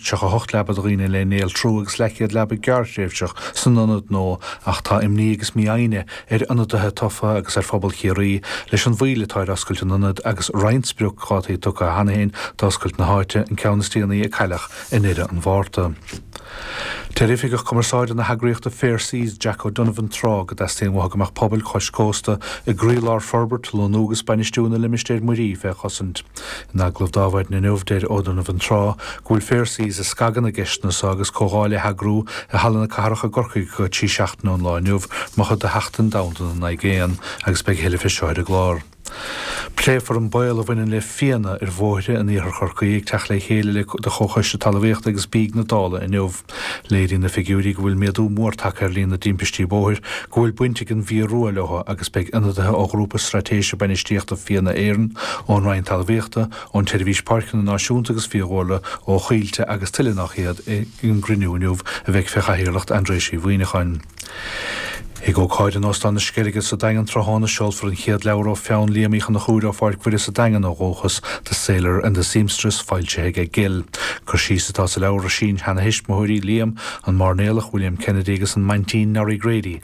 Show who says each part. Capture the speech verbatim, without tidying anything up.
Speaker 1: Tríocha a hocht leaba do dhaoine le néaltrú agus leathchéad leaba gearrthréimhseach san ionad nua ach tá imní agus mífhoighne ar ionadaithe tofa agus ar phobal Chiarraí leis an mhoill atá ar oscailt an ionaid agus roinnt spriocdhátaí tugtha cheana féin d'oscailt na háite, an ceann is déanaí a cailleadh i ndeireadh an Mhárta. Deir Oifigeach Cumarsáide na heagraíochta Fair Seas, Jack O'Donovan Tráth go dteastaíonn uathu go mbeadh pobail chois cósta i gcroílár forbairt, lonnú agus bainistiú na limistéir muirí fé chosaint. In agallamh d'Adhmhaidin inniu, deir O'Donovan Tráth go bhfuil Fair Seas ag scagadh na gceisteanna seo agus comhdháil á heagrú i Halla na Cathrach i gCorcaigh go trí seachtaine ón lá inniu mar chuid de Sheachtain Domhanda na nAigéan agus beidh a thuilleadh fé seo ar an gclár. Pléifear an baol a bhaineann le fianna ar bhóithre in iarthar Chorcaí ag teacht le chéile le de Chomhchoiste Talmhaíochta agus Bídh na Dála inniu. Léiríonn na figiúirí go bhfuil méadú mór tagtha ar líon na dtimpistí bóthair go bhfuil baint ag an bhfia rua leo agus beidh ionadaithe ó Ghrúpa Straitéise Bainistíochta Fianna Éireann, ón Roinn Talmhaíochta, ón tSeirbhís Páirceanna Náisiúnta agus Fiadhúlra, ó Choillte agus tuilleadh nach iad ag an gcruinniú inniu a bheidh fé chathaoirleacht Aindréis Uí Mhuimhneacháin. Ag ócáid in Óstán na Sceilge sa Daingean tráthnóna seolfar an chéad leabhar ó pheann Liam Uí Chonchúir ó Pháirc Mhuire sa Daingean ó dhúchas, The Sailor and the Seamstress, foilsithe ag Gill. Cur síos atá sa leabhar ar sin-sheanathuismitheoirí Liam, an mairnéalach William Kennedy agus an maintín Norrie Grady,